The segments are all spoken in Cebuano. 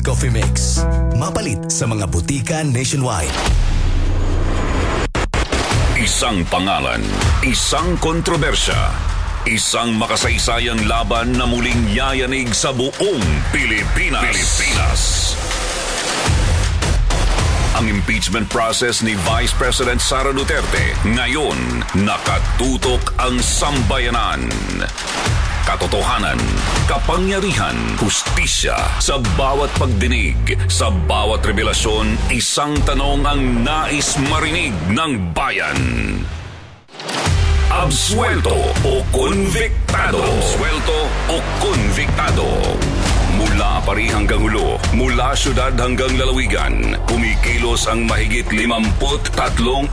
Coffee Mix. Mapalit sa mga butika nationwide. Isang pangalan, isang kontrobersya, isang makasaysayang laban na muling yayanig sa buong Pilipinas. Pilipinas. Ang impeachment process ni Vice President Sara Duterte ngayon nakatutok ang sambayanan. Katotohanan, kapangyarihan, hustisya sa bawat pagdinig, sa bawat revelasyon, isang tanong ang nais marinig ng bayan. Absuelto o konbiktado? Absuelto o konbiktado? Mula Pari hanggang Hulo, mula syudad hanggang lalawigan, kumikilos ang mahigit 53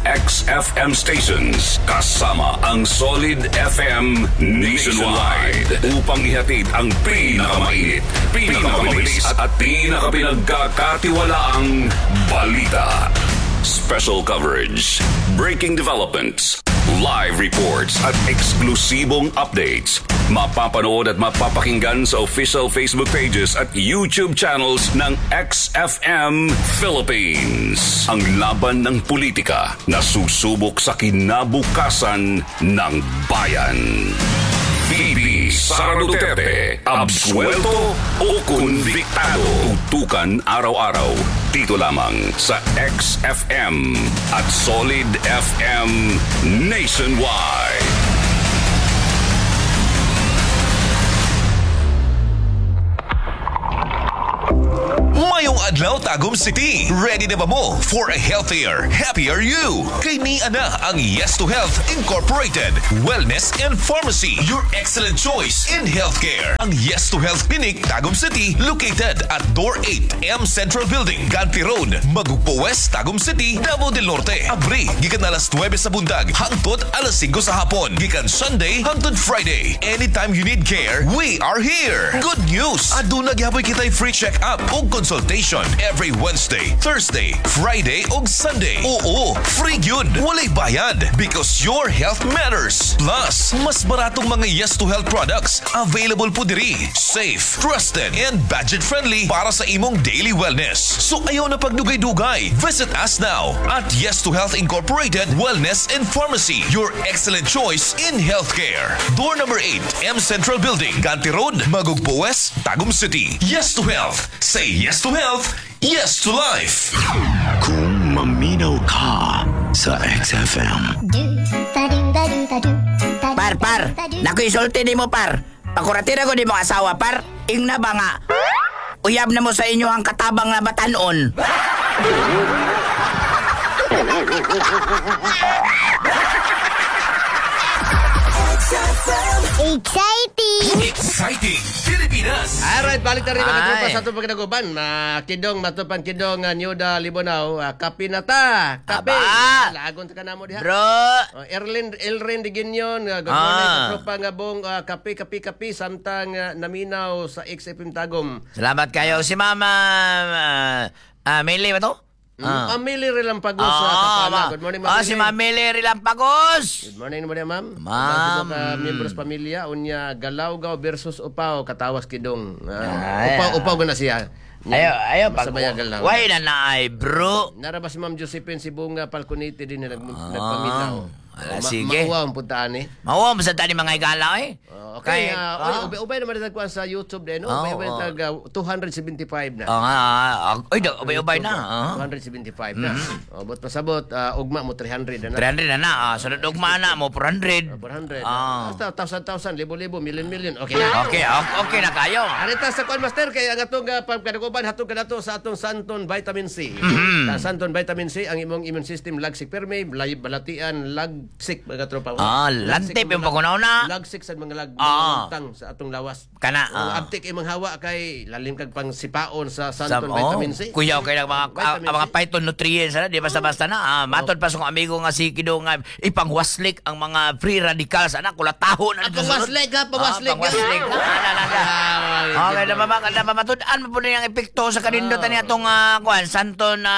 XFM stations kasama ang Solid FM nationwide upang ihatid ang pinakamainit, pinakamabilis at pinakapinagkakatiwalaang balita. Special coverage, breaking developments, live reports at eksklusibong updates. Mapapanood at mapapakinggan sa official Facebook pages at YouTube channels ng XFM Philippines. Ang laban ng politika na susubok sa kinabukasan ng bayan. VP Sara Duterte, absuelto o konbiktado? Tutukan araw-araw dito lamang sa XFM at Solid FM Nationwide. Mayong adlaw, Tagum City. Ready na ba mo for a healthier, happier you? Kay ni ana ang Yes to Health Incorporated Wellness and Pharmacy, your excellent choice in healthcare. Ang Yes to Health Clinic, Tagum City, located at Door 8, M Central Building, Ganti Road, Magugpo West, Tagum City, Davao del Norte. Abri, gikan alas 9 sa buntag, hangtod alas 5 sa hapon, gikan Sunday hangtod Friday. Anytime you need care, we are here. Good news! Aduna gihapon kita'y free check-up ug consultation every Wednesday, Thursday, Friday ug Sunday. Oo, free gyud. Walay bayad because your health matters. Plus, mas baratong mga Yes to Health products available po diri. Safe, trusted, and budget-friendly para sa imong daily wellness. So ayaw na pagdugay-dugay. Visit us now at Yes to Health Incorporated Wellness and Pharmacy, your excellent choice in healthcare. Door number 8, M Central Building, Ganti Road, Magugpo West, Tagum City. Yes to Health. Say yes to health, yes to life. Kung maminaw ka sa XFM. Par, par, naku isulti ni mo, par. Pakuratira ko di mo asawa, par. Ing na ba nga? Uyab na mo sa inyo ang katabang na batanon. Exciting! Exciting Pilipinas. Alright, balik na rin mga Ay. tropa sa itong pagkinaguban. Makidong, matupan kidong, Nyuda Libonaw, kape na ta. Kape. Aba. Lagon ta ka na mo diha. Bro, Oh, Erlin, Elrin de Guinyon, good morning, tropa nga bong, kape, kape, kape, samtang naminaw sa XFM Tagum. Salamat kayo. Si Mama, Mili ba to? Mamili Relampagos sa Kapala. Good morning, Ma'am Si Mili. Ma'am Mili Relampagos. Good morning naman yan, ma'am. Ma'am. Ka membros pamilya unya Galawgaw versus Upaw katawas kidong. Ay, Upaw upaw na siya. Ayo, ayo pag Masabaya Galaw. Why na na ay, bro. Nara ba si Ma'am Josephine Sibunga Palconiti din na nagpaminaw. Ala, sige. Mauwa ang puntaan eh. Mawa mo sa tani mga igala eh. Oh, okay, Kay- oy, ubay-ubay naman tagkuan sa YouTube din, no? Oh, Ubay-ubay oh. tag 275 na. Oo nga, oy, ubay-ubay na. 275 na. Oh, but pasabot, ugma mo 300 na na. 300 na na. Sunod ugma na mo 400. 400. Basta thousand, thousand, libo-libo, million, million. Okay na. Okay, okay na kayo. Arita sa kuan, master, kay ang atong pagkadaguban hatog kanato sa atong Santon Vitamin C. Sa Santon Vitamin C ang imong immune system lagsik perme, balatian lagsik mga tropa. Lantip yung pagunaw na. Lagsik sa mga lag mga sa atong lawas. Kana, Ang abtik imong hawa kay lalim kag pang sipaon sa Sa, Santon Vitamin C. Kuyaw kay ng mga Vitamin mga C. phytonutrients ana, di basta-basta na. Matod pa sa akong amigo nga si Kido nga ipangwaslik ang mga free radicals ana kulataho na dito sa Pangwaslik ha, pangwaslik. Pangwaslik. Na, na. Okay, na ba na matud-an mo po ang epekto sa kanindutan niya atong kuan Santon na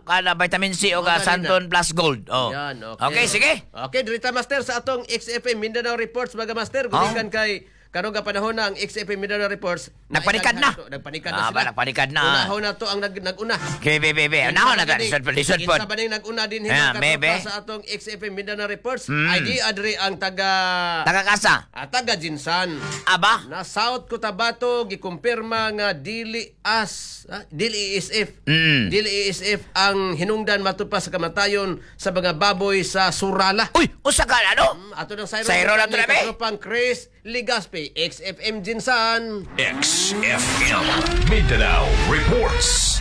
kana vitamin C o ka Mga Santon plus gold. Oh. Yan, okay. Okay, sige. Okay, dirita master sa atong XFM Mindanao Reports mga master, gumikan kay Karon nga panahon na ang XFM Mindanao Reports Nagpanikad na. Nagpanikad na Ah, sila. ba, nagpanikad na. Unahon na to ang naguna. Okay, be, be, be. Unahon na to. Lisod po, lisod po. Kinsa ba ning naguna din Ah, mga bebe. katropa sa atong XFM Mindanao Reports? Ay di adri ang taga Tagakasa. Taga Jinsan. Aba. Na South Cotabato gikumpirma nga dili as dili ASF. Dili ASF ang hinungdan matupa sa kamatayon sa mga baboy sa Surala. Uy, usa ka ano? Ato ng Sayro, Sayro na to na, be. Katropang Chris Ligaspi, XFM Jinsan. XFM Mindanao Reports.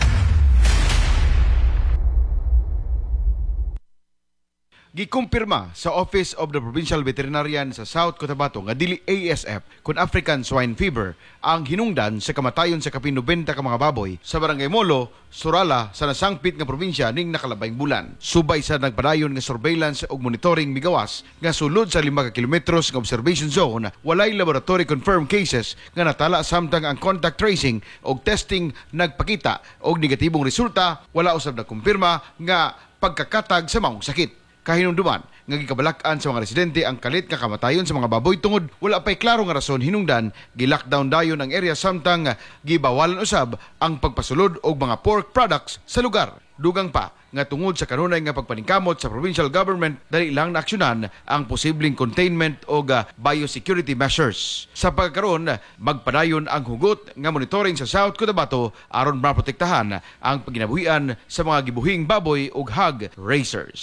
Gikumpirma sa Office of the Provincial Veterinarian sa South Cotabato nga dili ASF kun African Swine Fever ang hinungdan sa kamatayon sa kapin 90 ka mga baboy sa Barangay Molo, Surala sa nasangpit nga probinsya ning nakalabayng bulan. Subay sa nagpadayon nga surveillance ug monitoring migawas nga sulod sa 5 ka kilometros nga observation zone, walay laboratory confirmed cases nga natala samtang ang contact tracing og testing nagpakita og negatibong resulta, wala usab nagkumpirma nga pagkakatag sa maong sakit. Kahinumduman nga gikabalak-an sa mga residente ang kalit nga kamatayon sa mga baboy tungod wala pay klaro nga rason hinungdan gi-lockdown dayon ang area samtang gibawalan usab ang pagpasulod og mga pork products sa lugar. Dugang pa nga tungod sa kanunay nga pagpaningkamot sa provincial government dali lang naaksyonan ang posibleng containment og biosecurity measures. Sa pagkaron, magpadayon ang hugot nga monitoring sa South Cotabato aron maprotektahan ang paginabuhian sa mga gibuhing baboy ug hog raisers.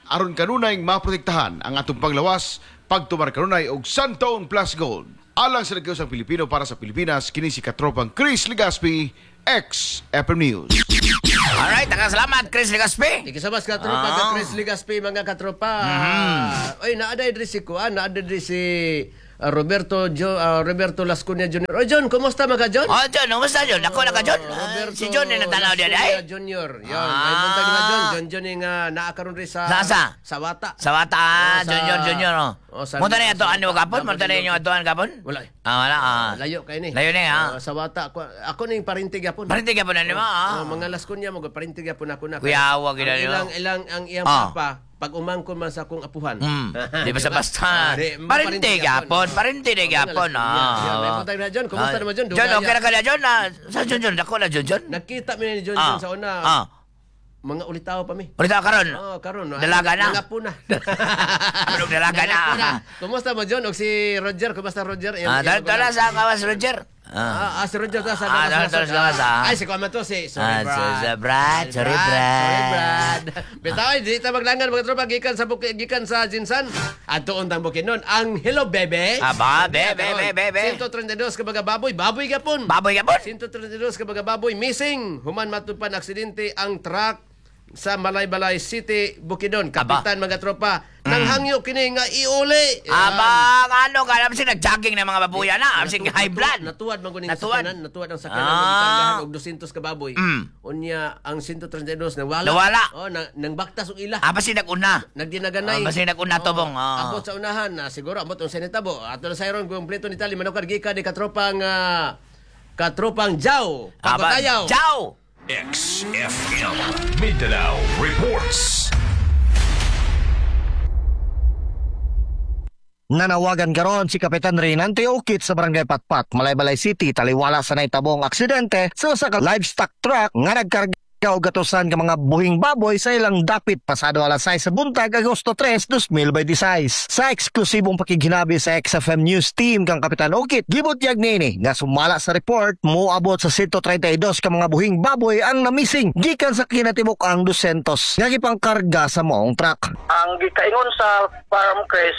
Aron kanunay maprotektahan ang atong panglawas, pagtumar kanunay og Santone Plus Gold. Alang sa nagkiusang Pilipino para sa Pilipinas, kini si katropang Chris Legaspi, XFM News. Alright, daghang salamat Chris Legaspi. Thank you so much, katropa. Chris Legaspi, mga katropa. Oy, naaday diri si Kuan, naaday diri si Roberto Roberto Lascuña Jr. Oy, John, kumusta mga John? Oh, John, kumusta John? Ako na ka John. Si John ni natanaw diyan ay. Lascuña Jr. Yon, may buntag na John. John John yung naa karon diri sa Sa asa? Sa Wata. Sa Wata, Oh, Junior, Junior. Oh. Oh, sa Munta na yung atuan mo kapon? Davao Munta na del yung Norte. atuan kapon? Wala eh. Ah, wala. Ah. Layo kay ni. Layo ni, ah. Oh, sa Wata ako, ako ning parintig yapon. Parintig yapon na ni mo, ah. Oh, mga Lascuña mo parintig yapon ako na. Kuya, wag Ang na ni mo. Ilang ilang ang iyang papa pag umangkon man sa akong apuhan. Di ba sa basta? Di, Parintig yapon, parintig yapon. Ah. May buntag na John, kumusta naman John? John, okay na ka na John? Sa John, John, dako na John, John. Nakita mi ni John John sa una. Mga ulitaw pa mi. Ulitaw karon. Oh, karon. Dalaga na. Nangapo na. Anong dalaga na? Kumusta mo John? Og si Roger, kumusta Roger? Dala sa kawas Roger. Si Roger ta sa Dala sa kawas. Ay, si Kuya to si. Sorry, Brad. Brad. Sorry, Brad. Sorry, Brad. Bitaw, di ta maglangan mga tropa gikan sa bukid, gikan sa Jinsan. Adtoon tang Bukidnon ang Hello Bebe. Aba, bebe, bebe, bebe. 132 ka mga baboy, baboy gapon. Baboy gapon. 132 ka mga baboy missing. Human matupan aksidente ang truck sa Malaybalay City, Bukidnon. Kapitan mga tropa, nang hangyo kini nga iuli. Aba, ano ka? Alam nag-jogging na mga babuya na. Alam high blood. Natuwad man kuning sakyanan, natuwad ang sakyanan ah. Og 200 ka baboy. Unya ang 132 nawala. Nawala. Oh, nang baktas og ila. Ah, basi nag-una. Nagdinaganay. Ah, basi nag-una tobong. Oh. Abot sa unahan na siguro abot ang senetabo. Ato na sayron kumpleto ni tali manukar gikan ni katropang katropang Jaw. Pagkatayaw. Jaw. XFM Mindanao Reports. Nanawagan karon si Kapitan Reynante Ukit sa Barangay Patpat, Malaybalay City, taliwala sa naitabong aksidente sa usa ka livestock truck nga nagkarga og gatusan ka mga buhing baboy sa ilang dapit pasado alas 6 sa buntag, Agosto 3, 2026. Sa eksklusibong pakighinabi sa XFM News Team kang Kapitan Ukit, gibutyag nini nga sumala sa report moabot sa 132 ka mga buhing baboy ang namising gikan sa kinatibuk ang 200 nga gipangkarga sa maong truck. Ang gikaingon sa farm Chris,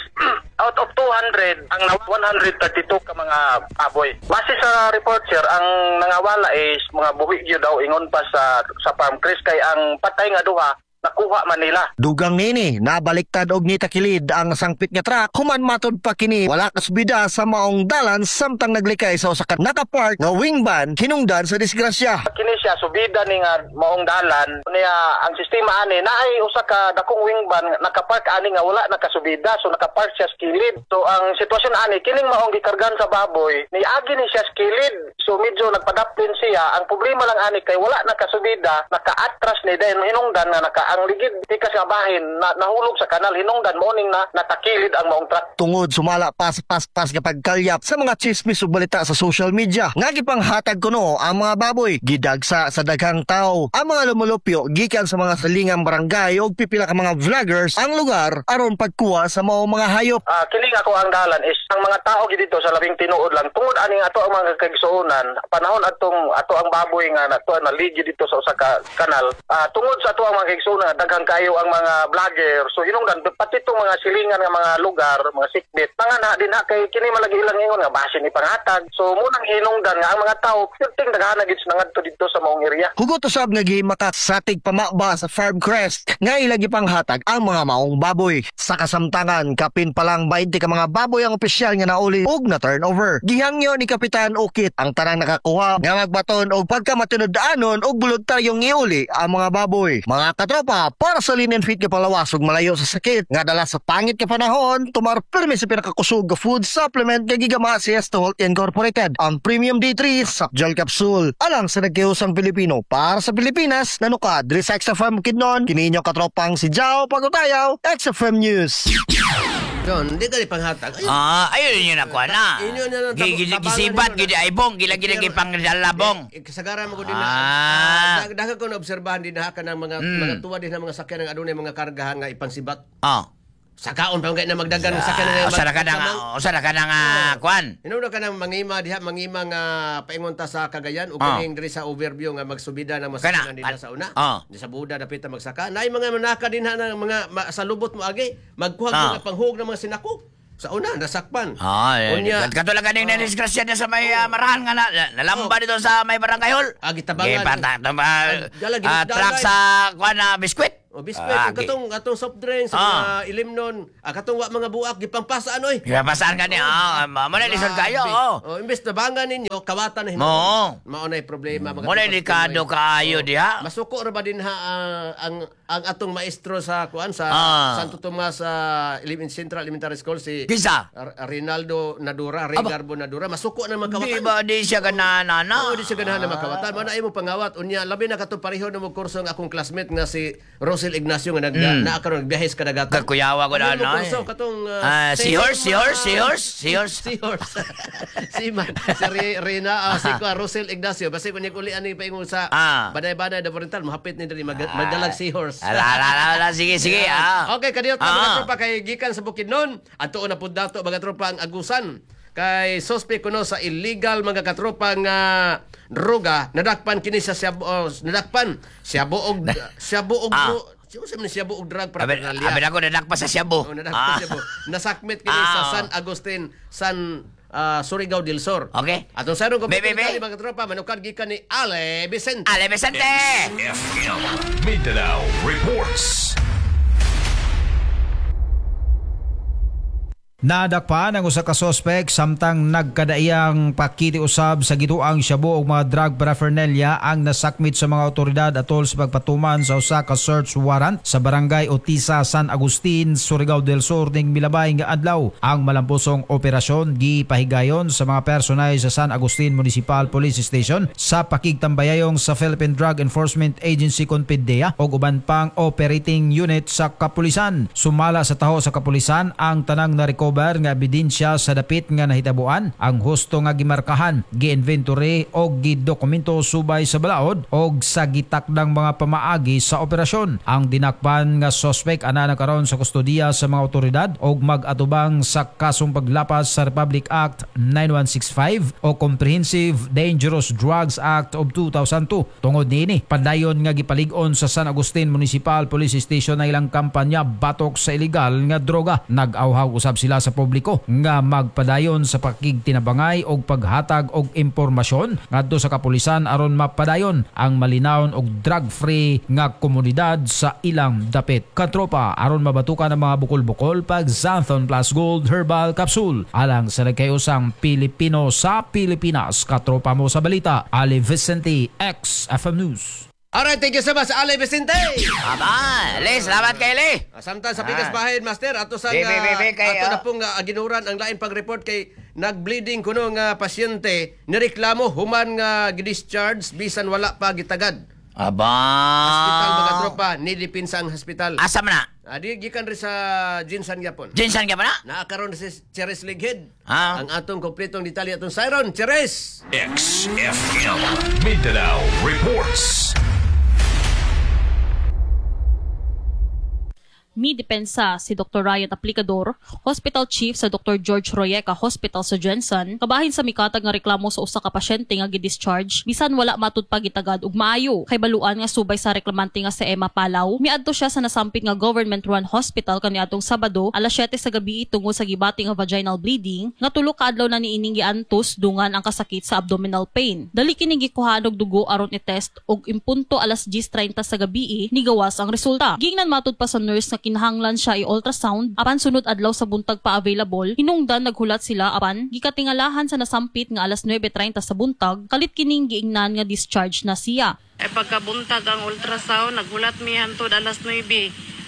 out of 200, ang 132 ka mga baboy. Base sa report sir, ang nangawala is mga buhi gyud daw ingon pa sa farm Chris kay ang patay nga duha nakuha man nila. Dugang nini, nabaliktad og nitakilid ang sangpit nga truck human matod pa kini wala kasbida sa maong dalan samtang naglikay sa usa ka nakapark nga wing van hinungdan sa disgrasya. Kini siya subida ni nga maong dalan niya ang sistema ani naay usa ka dakong wing van nakapark ani nga wala nakasubida, so nakapark siya sa kilid. So ang sitwasyon ani kining maong gikargan sa baboy niagi ni siya sa kilid, so medyo nagpadaplin siya. Ang problema lang ani kay wala nakasubida, nakaatras ni dahil hinungdan nga naka Ang ligid tikas nga bahin na, nahulog sa kanal, hinungdan mo ning na natakilid ang maong truck. Tungod sumala pas pas pas kapag kalyap sa mga chismis ug balita sa social media nga gipanghatag kuno ang mga baboy gidagsa sa daghang tao ang mga lumulupyo gikan sa mga silingang barangay ug pipila ka mga vloggers ang lugar aron pagkuha sa mao mga hayop. Kining ako ang dalan is ang mga tao gid dito sa labing tinuod lang tungod ani ato ang mga kaigsuonan panahon atong ato ang baboy nga nato naligi dito sa usa ka kanal, tungod sa ato ang mga kaigsuonan daghan kayo ang mga vlogger, so hinungdan pati itong mga silingan nga mga lugar, mga sikbit mga na din ha kay kini malagi ilang ingon nga basin ipanghatag, so munang hinungdan nga ang mga tao perting daghana gid ngadto dito sa maong area. Hugot usab nga gimakasatig pamaba sa Farm Crest nga ilang gipanghatag ang mga maong baboy. Sa kasamtangan, kapin pa lang 20 ka mga baboy ang opisyal nga nauli og na turnover. Gihangyo ni Kapitan Ukit ang tanang nakakuha nga magbaton og pagkamatinud-anon og voluntaryong iuli ang mga baboy. Mga katropa, para sa lean and fit nga palawas ug malayo sa sakit nga dala sa pangit nga panahon, tumar pirmi sa pinakakusog nga food supplement nga gigama sa Yes to Health Incorporated, ang Premium D3 sa gel capsule. Alang sa nagkihusang Pilipino para sa Pilipinas, nanuka diri sa XFM Kidnon, kini inyo katropang si Jao Pagutayaw, XFM News. Don, di ka ni panghatag. Ayun. Ayun yun ako na. Inyo na lang, tabangan Gisibat, ninyo na. gidi aybong, gila gila gipangdalabong. Kasagaran mo ko din na. Daghang ko naobserbahan din na ka ng mga mga tuwa din na mga sakyan ng adunay mga kargahan nga ipangsibat. Sakaon pa na magdagan ng sakyan nga Usa na ka na nga, usa na ka na nga kuan. Hinungdan ka ng mangima diha, mangima nga paingon ta sa Cagayan o kining diri sa overview nga magsubida ng masakyan Kana, dinha sa una. Di sa Buda dapit ta magsaka. Naay mga manaka dinha ng mga sa lubot mo agi, magkuha mga panghug ng mga sinako. Sa una nasakpan. Unya. Katulad kaning na-disgrasya niya sa may marahan nga nalamba dito sa may barangay hall. Gitabangan. Truck sa kuan na biskwit. O biskwit, katong atong soft drinks, mga ilimnon, katong wa mga buak gipangpasaan oy. Gipangpasaan kani, mo na lisod kayo, oh. Oh, imbes tabangan ninyo, kawatan na hinuon. Oo. Mao nay problema mga Mo na delikado kaayo diha. Masuko ra ba din ha ang atong maestro sa kuan sa Santo Tomas Central Elementary School si Kinsa? Rinaldo Nadura, Regarbo Nadura, masuko na mga kawatan. Di ba di siya ganahan na? Oo, di siya ganahan na makawatan. Mao na imo pangawat unya labi na katong pareho na mo kurso ang akong classmate nga si Rosel Ignacio nga naa karon nagbiyahe sa kadagatan. Kakuyawa ko na ano. eh. Kurso katong Seahorse, seahorse, seahorse, seahorse. Seahorse. Si man, si Rina, si Rosel Ignacio. Basta kung uli ani paingon sa Banay-Banay de Oriental, mahapit ni diri magdalag seahorse. Ala, ala, ala, sige, sige. Okay, kadiyot mga tropa kay gikan sa Bukidnon. Adtuon na pud dato mga tropa ang Agusan. Kay suspect kuno sa illegal mga katropa nga droga, nadakpan kini sa nadakpan siya buog siya buog drug paraphernalia. Abi ako nadakpa sa Shabu. Oh, nadakpa sa Shabu. Nasakmit kini sa San Agustin, San Surigao del Sur. Okay. Atong sarong kompetensya mga katropa, manukad gikan ni Ale Vicente. Ale Vicente. FM Mindanao Reports. Nadakpan ang usa ka sospek samtang nagkadaiyang pakiti usab sa gituang shabu og mga drug paraphernalia ang nasakmit sa mga otoridad atol sa pagpatuman sa usa ka search warrant sa barangay Otisa, San Agustin, Surigao del Sur ning milabay nga adlaw. Ang malampusong operasyon gipahigayon sa mga personay sa San Agustin Municipal Police Station sa pakigtambayayong sa Philippine Drug Enforcement Agency kon PDEA og uban pang operating unit sa kapulisan. Sumala sa taho sa kapulisan ang tanang nareko nga ebidensya sa dapit nga nahitabuan ang husto nga gimarkahan, gi-inventory o gidokumento subay sa balaod og sa gitakdang mga pamaagi sa operasyon. Ang dinakpan nga sospek ana na karon sa kustodiya sa mga otoridad og mag-atubang sa kasong paglapas sa Republic Act 9165 o Comprehensive Dangerous Drugs Act of 2002. Tungod niini, padayon nga gipalig-on sa San Agustin Municipal Police Station na ilang kampanya batok sa ilegal nga droga. Nag-awhaw usab sila sa publiko nga magpadayon sa pakigtinabangay og paghatag og impormasyon ngadto sa kapulisan aron mapadayon ang malinawon og drug-free nga komunidad sa ilang dapit. Katropa, aron mabatukan ang mga bukol-bukol pag Xanthone Plus Gold Herbal Capsule alang sa nagkayusang Pilipino sa Pilipinas. Katropa mo sa balita, Ali Vicente, XFM News. Alright, thank you so much, Ale Vicente! Aba, Le, salamat kay Le! Samtang sa Pikas Bahin, Master, ato sa ato na pong aginuran ang lain pag-report kay nag-bleeding kuno nga pasyente, nireklamo human nga gi-discharge bisan wala pa gitagad. Aba. Hospital, mga tropa, nidipinsa ang hospital. Asa man na? Adi gikan ri sa GenSan gyapon. GenSan gyapon na? Naa karon si Cheres Lighed. Ah. Ang atong kompletong detalye atong siron, Cheres. XFM Mindanao Reports. Mi depensa si Dr. Ryan Aplicador, Hospital Chief sa Dr. George Royeca Hospital sa GenSan, kabahin sa mikatag nga reklamo sa usa ka pasyente nga gi-discharge bisan wala matud pa gitagad og maayo. Kay baluan nga subay sa reklamante nga si Emma Palaw, miadto siya sa nasampit nga government-run hospital kaniadtong Sabado alas 7 sa gabi tungod sa gibati nga vaginal bleeding nga tulo ka adlaw na niining giantos dungan ang kasakit sa abdominal pain. Dali kining gikuhaan og dugo aron i-test og impunto alas 10:30 sa gabi nigawas ang resulta. Giingnan matud pa sa nurse nga kinahanglan siya i-ultrasound apan sunod adlaw sa buntag pa available. Hinungdan naghulat sila apan gikatingalahan sa nasampit nga alas 9:30 sa buntag kalit kining giingnan nga discharge na siya. Ay pagkabuntag ang ultrasound, naghulat mi hantod alas 9.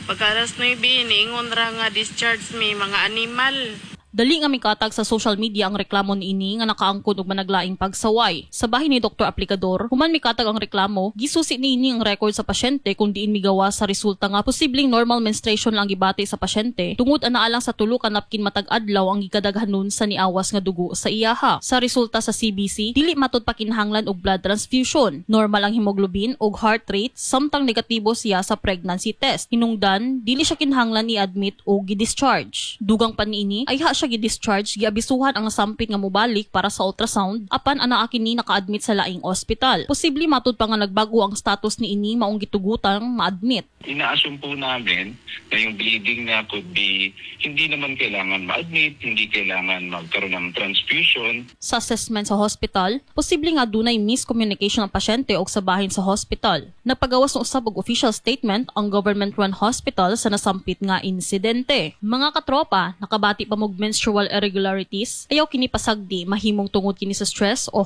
Pagka alas 9, niingon ra nga discharge mi mga animal. Dali nga mikatag sa social media ang reklamo niini nga nakaangkon og managlaing pagsaway. Sa bahin ni Dr. Aplicador, human mikatag ang reklamo, gisusi niini ang record sa pasyente kung diin migawa sa resulta nga posibleng normal menstruation lang gibati sa pasyente tungod anaa lang sa tulo ka napkin matag adlaw ang gikadaghanon sa niawas nga dugo sa iyaha. Sa resulta sa CBC, dili matud pakinahanglan og blood transfusion. Normal ang hemoglobin og heart rate samtang negatibo siya sa pregnancy test. Hinungdan, dili siya kinahanglan i-admit o gi-discharge. Dugang pa niini, ayha siya gi-discharge, giabisuhan ang sampit nga mobalik para sa ultrasound apan anaa kini naka-admit sa laing ospital. Posible matud pa nga nagbago ang status niini maong gitugutang ma-admit. Ina-assume po namin na yung bleeding na could be hindi naman kailangan ma-admit, hindi kailangan magkaroon ng transfusion. Sa assessment sa hospital, posible nga dunay miscommunication ang pasyente og sa bahin sa hospital. Nagpagawas ng usab og official statement ang government-run hospital sa nasampit nga insidente. Mga katropa, nakabati pa mog menstrual irregularities, ayaw kini pasagdi mahimong tungod kini sa stress o